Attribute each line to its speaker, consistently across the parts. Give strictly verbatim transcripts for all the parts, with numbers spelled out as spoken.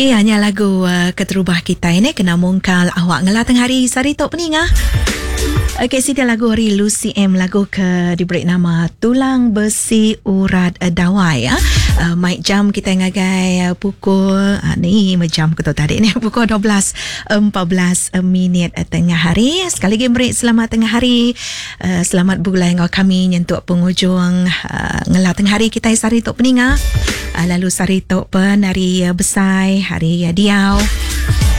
Speaker 1: Iya nya lagu uh, keterubah kita ini kena mungkal awak ngelah tengah hari sari tok peninga. Okey, siti lagu hari Lucy M, lagu ke diberi nama Tulang Besi Urat Dawai ya. Uh, mic jam kita ngagai uh, pukul uh, ni jam ke tu tadi ni pukul dua belas empat belas minit tengah hari. Sekali lagi beri selamat tengah hari. Uh, selamat bergulai dengan kami nyentuk penghujung uh, ngelah tengah hari kita sari tok peninga. Uh, lalu sari tok pen hari uh, besai, hari uh, diau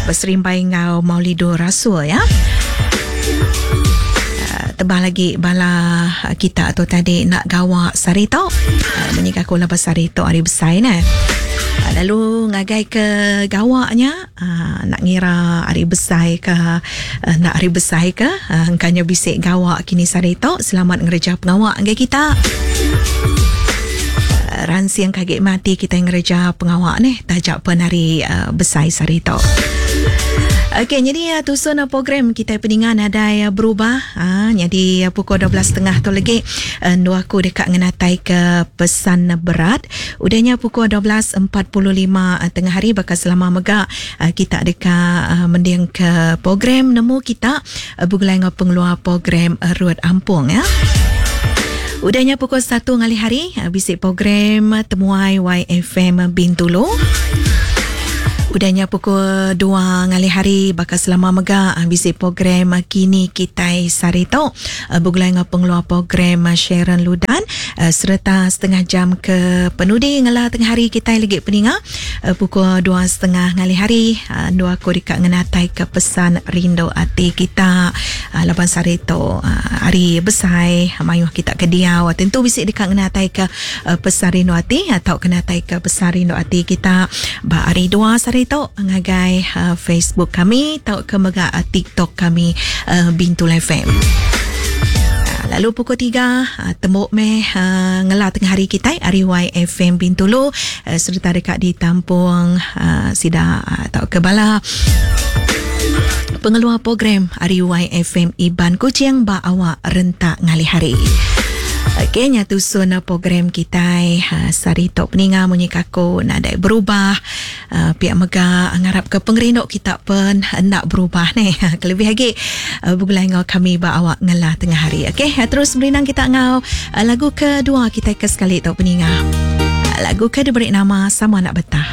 Speaker 1: berserimbai ngau Maulidur Rasul ya. Tebah lagi bala kita tu tadi nak gawak sari tok. Menyikah aku lepas sari tok hari besar ne. Lalu ngagai ke gawaknya nak ngira hari besar ke nak hari besar ke engkanya bisik gawak kini sari tok. Selamat ngereja pengawak ngai kita. Ransiang kaget mati kita ngereja pengawak ni tajak pen hari besar sari tok. Okey, jadi uh, tusun program kita peningan ada uh, berubah. Ha, jadi uh, pukul dua belas tiga puluh tu lagi uh, dua aku dekat ngenatai ke pesan berat. Udahnya pukul dua belas empat puluh lima uh, tengah hari bakal selama megak uh, kita dekat uh, mending ke program nemu kita uh, bergulai dengan pengeluar program uh, Ruat Ampung ya. Udahnya pukul satu ngalih hari uh, bisik program uh, Temuai Y F M Bintulu. Udahnya pukul dua ngalih hari bakal selama mega bisik program Kini Kitai Sarito bergulai dengan pengeluar program Sharon Ludan serta setengah jam ke penudi ngelah tengah hari kita lagi peninga pukul dua setengah ngalih hari dua aku dekat ngenatai ke pesan rindu hati kita laban Sarito hari besai mayuh kita ke diau tentu bisik dekat ngenatai ke pesan rindu hati atau kenatai ke pesan rindu hati kita ba hari dua Sarito itu ngagai uh, Facebook kami atau ke mega uh, TikTok kami uh, Bintulu F M. Uh, lalu pukul tiga uh, tembok meh uh, ngelah tengah hari kita hari Y F M Bintulu uh, serta dekat di tampung uh, sida atau uh, ke bala pengeluar program hari Y F M Iban Kuching ba awak rentak ngalih hari. Okey, nyatu sun program kita ha, sari tok peninga munyi kako nadai berubah. Uh, pihak mega ngarap ke pengerinduk kita pun nak berubah ni. Kelebih lagi uh, bergulai ngau kami ba awak ngelah tengah hari. Okey, terus berinang kita ngau uh, lagu kedua kita ke sekali tok peninga. Uh, lagu ke diberi nama Sama Nak Betah.